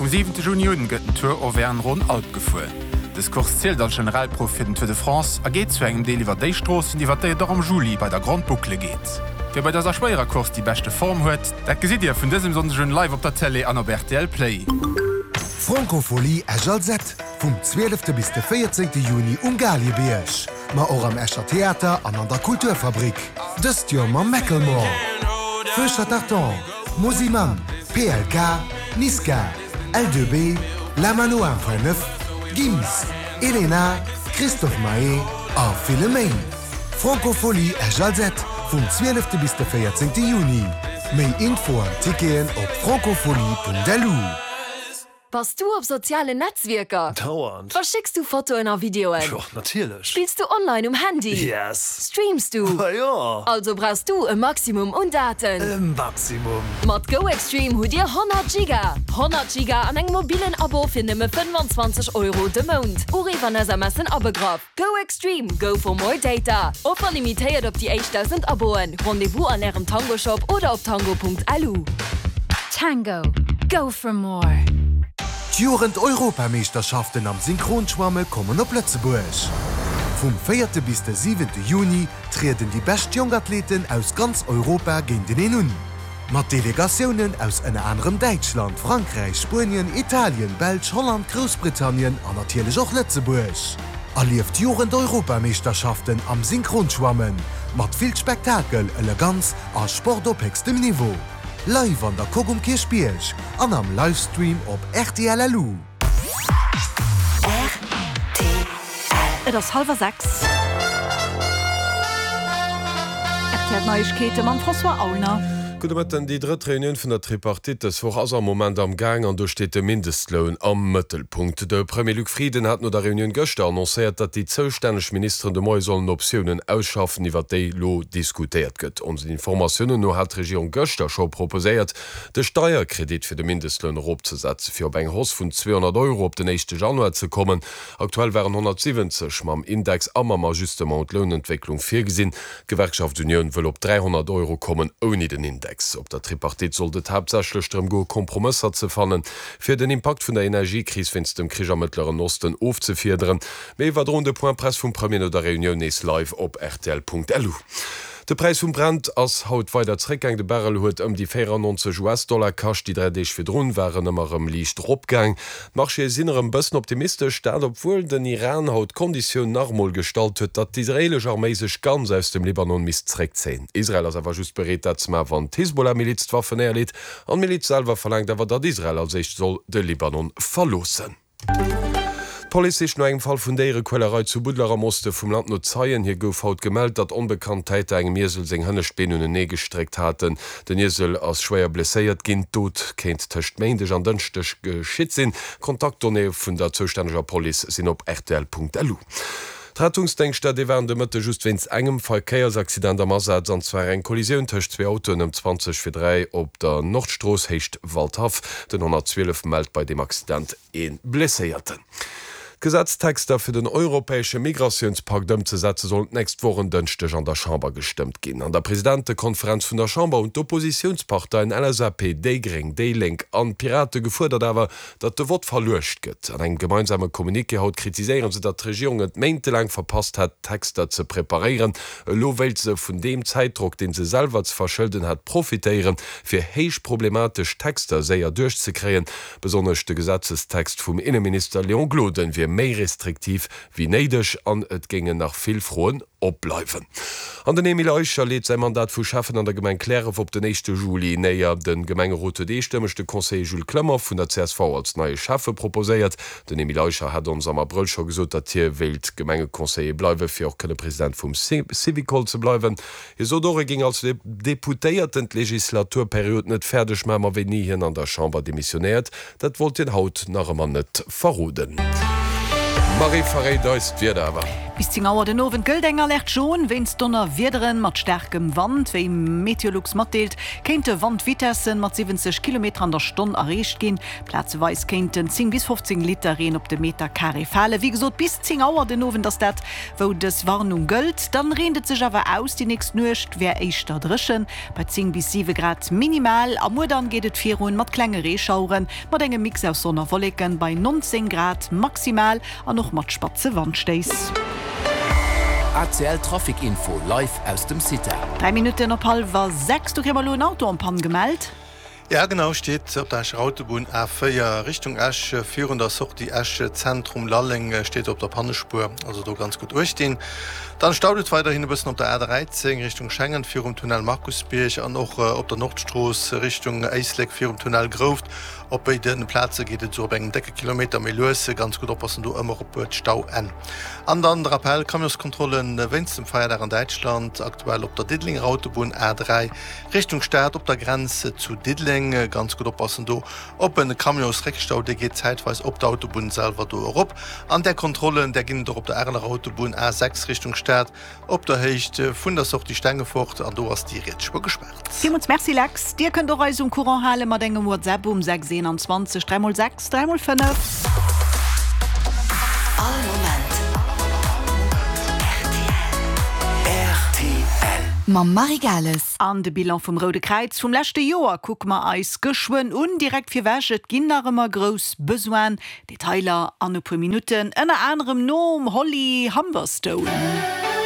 Vum 7 Juni un gëtt den Tour Auvergne-Rhône-Alpes gefuer. Dës Course zielt als Generalprouf fir den Tour de France a geet zu engem Deel iwwer déi Stroossen, iwwer déi et och am Juli bei der Grande Boucle geet. Wie bei dëser schwéierer Course déi beschte Form huet, dat gesitt Dir vun dësem Sonndeg un live op der Télé an op rtl Play. D'Francofolie Esch-Alzette vum 12 bis de 14 Juni um Galiebierg, ma och am Escher Theater an an der Kulturfabrik. Dëst Joer mam Macklemore, Feu Chatterton, Mosimann, PLK, Niska, L2B, La Mano 1.9, Gims, Elena, Christophe Maé a ville méi. Francophonie Esch-Alzette vum 12 bis de 14 Juni. Méi Info an Ticketen op francophonie.lu. Bass du op sozialen Netzwierker? Dauernd. Verschécks du Fotoen a Videoen? Jo, natierlech. Spills du online um Handy? Yes. Streams du? Ma jo. Also brauchs du e Maximum un Daten. E Maximum. Mat GoExtreme hutt dir 100 Giga! 100 Giga an engem mobillen Abo fir nëmme 25 Euro de Mount. Uriff an SMSen abegraff. Go Extreme, go for more data! Offer limitéiert op déi éischt 1.000 Aboen. Rendez-vous an ärem Tango Shop oder op tango.lu. Tango, go for more! D'Jugend-Europameeschterschaften am Synchronschwamme kommen op Lëtzebuerg. Vum véierte bis de siwente Juni trieden déi bescht jonk Athleten aus ganz Europa géinteneen un. Mat Delegatiounen aus ënner anerem Däitschland, Frankräich, Spuenien, Italien, Belsch, Holland, Groussbritannien an natierlech och Lëtzebuerg. Erlieft d'Jugend-Europameeschterschaften am Synchronschwammen mat vill Spektakel, Eleganz a Sport op héchstem Niveau. Live an der Coque um Kierchbierg an am Livestream op rtl LU. Et ass hallwer 6. Rtl Neiegkeete mam François Aulner. Gudde Mëtten. Déi drëtt Reunioun vun der Tripartite dës Woch ass am Moment am Gaang an do steet de Mindestloun am Mëttelpunkt. De Premier Luc Frieden hat no der Reunioun gëschter annoncéiert, datt déi zoustänneg Ministeren de Moie sollen Optiounen ausschaffen, iwwer déi lo diskutéiert gëtt. Onsen Informatiounen no hat d'Regierung gëschter scho proposéiert, De Steierkredit fir de Mindestloun eropzesetzen, fir op eng Hausse vun 200 Euro op den éischte Januar ze kommen. Aktuell waren 170 mam Index a mam Ajustement un d'Lounentwécklung virgesinn. D'Gewerkschaft Unioun wëll op 300 Euro kommen, ouni den Index. Op der Tripartite sollt et haaptsächlech drëm goe Kompromësser ze fannen, fir den Impakt vun der Energiekris wéinst dem Krich am Mëttleren Osten ofzefiederen. Méi iwwerdroen de Point Presse vum Premier no der Reunioun nees live op rtl.lu. De Präis vum Brent ass haut weider zréckgaang. De Barrel huet ëm déi 94 US-Dollar kascht. Déi 3 Deeg virdrun war en ëmmer erëm liicht eropgaang. D'Marchéë sinn erëm bëssen optimistesch, dat obwuel den Iran haut d'Konditioun nach emol gestallt huet, datt d'israeelesch Arméi sech ganz aus dem Libanon misst zréckzéien. Israel ass awer just bereet dat ze maachen, wann d'Hisbollah-Miliz d'Waffen néierleet. An d'Miliz selwer verlaangt awer, datt Israel als éischt soll de Libanon verloossen. D'Police sicht no engem Fall vun Déierequälerei zu Budler am Oste vum Land no Zeien. Hir gouf haut gemellt, datt onbekannt Täter engem Iesel seng hënnescht Been unenee gestréckt haten. Den Iesel ass schwéier blesséiert ginn. D'Dot kéint tëscht Méindeg an Dënschdeg geschitt sinn. D'Kontaktdonnéeë vun der zoustänneger Police sinn op rtl.lu. D'Rettungsdéngschter, déi waren de Mëtte just wéinst engem Verkéiersaccident am Asaz, an zwar eng Kollisioun tëscht zwee Autoen ëm 20 vir 3 op der Nordstrooss, Héicht Waldhaff. Den 112 mellt bei deem Accident ee Blesséierten. D'Gesetztexter fir den europäesche Migratiounspakt ëmzesetze sollen d'nächst Woch en Dënschdeg an der Chamber gestëmmt ginn. An der Presidentekonferenz vun der Chamber hunn d'Oppositiounsparteien LSAP, déi Gréng, déi Lénk an d'Pirate gefuerdert awer, datt de Vott verluecht gëtt. An engem gemeinsame Communiqué haut kritiséiere se, datt d'Regierung et méintelaang verpasst hätt, d'Texter ze preparéieren. Elo wéilt se vun deem Zäitdrock, dee se selwer ze verschëlden hat, profitéieren, fir héich problematesch Texter séier duerchzekréien. Besonnesch de Gesetzestext vum Inneminister Léon Gloden wier méi restriktiv wéi néideg an et géingen nach vill Froen opbleiwen. An den Emile Eicher leet säi Mandat vu Schäffen an der Gemeng Kläref op den éischte Juli néier. De Gemengerot huet eestëmmeg de Conseiller Jules Clement vun der csv als neie Schäffe proposéiert. Den Emile Eicher hat ons am Abrëll scho gesot, datt hie wéilt Gemengeconseiller bleiwen, fir och kënne President vum Syvicol ze bleiwen. Hie sot och, e géing als Deputéierten d'Legislaturperiod net fäerdeg maachen, ma wéini hien an der Chamber demissionéiert, dat wollt hien haut nach ëmmer net verroden. D'Marie verréit eis d'Wieder awer. Bis 10 Auer den Owend gëllt eng Alerte jaune wéinst Donnerwiederen mat staarkem Wand. Wéi Meteolux matdeelt, kéinte Wandvitessen mat 70 Kilometer an der Stonn erreecht ginn. Plazeweis kéinten 10 bis 15 Liter Reen op de Meter Carré falen. Wéi gesot, bis 10 Auer den Owend ass dat, wou dës Warnung gëllt. Dann reent et sech awer aus, déi nächst Nuecht wär éischter dréchen, bei 10 bis 7 Grad minimal. A muer dann geet et virun mat klenge Reeschaueren, mat engem Mix aus Sonn a Wolleken bei 19 Grad maximal an och mat spatze Wandstéiss. ACL Trafic Info live aus dem CITA. 3 Minutten op hallwer 6, do kréie mer elo en Auto en panne gemellt. Ja genau, steet op der Escher Autobunn A4 Richtung Esch virun der Sortie Esch Zentrum Lalleng steet op der Pannespuer, also do ganz gutt uecht dinn. Dann staut et weiderhin e bëssen op der A13 Richtung Schengen virum Tunnel Markusbierg an och op der Nordstrooss Richtung Éislek virum Tunnel Grouft. Op béide Plaze geet et esou op engem décke Kilometer méi lues. Ganz gutt oppassen do ëmmer op d'Stauenn. An dann de Rappel, Camionskontrolle wéinst dem Feierdag an Däitschland aktuell op der Diddelenger Autobunn A3 Richtung Stad op der Grenz zu Diddeleng. Ganz gutt oppassen do op en Camionsréckstau, dee geet zäitweis op d'Autobunn selwer do erop. An där Kontrollen, där ginn et och op der Areler Autobunn A6 Richtung Stad op der Héicht vun der Sortie Stengefort an do ass déi riets Spuer gespaart. Villmools Merci Lex. Dir kënnt och eis um Courant hale mat engem WhatsApp um 6 21 3 x 6 3 x 5. All Moment rtl. Rtl. Mam Marie Gales. An de Bilan vum Roude Kräiz vum leschte Joer kucke mer eis geschwënn un. Direkt virwech, et ginn nach ëmmer grouss Besoinen. Detailer an e puer Minutten, ënner anerem nom Holly Humberstone.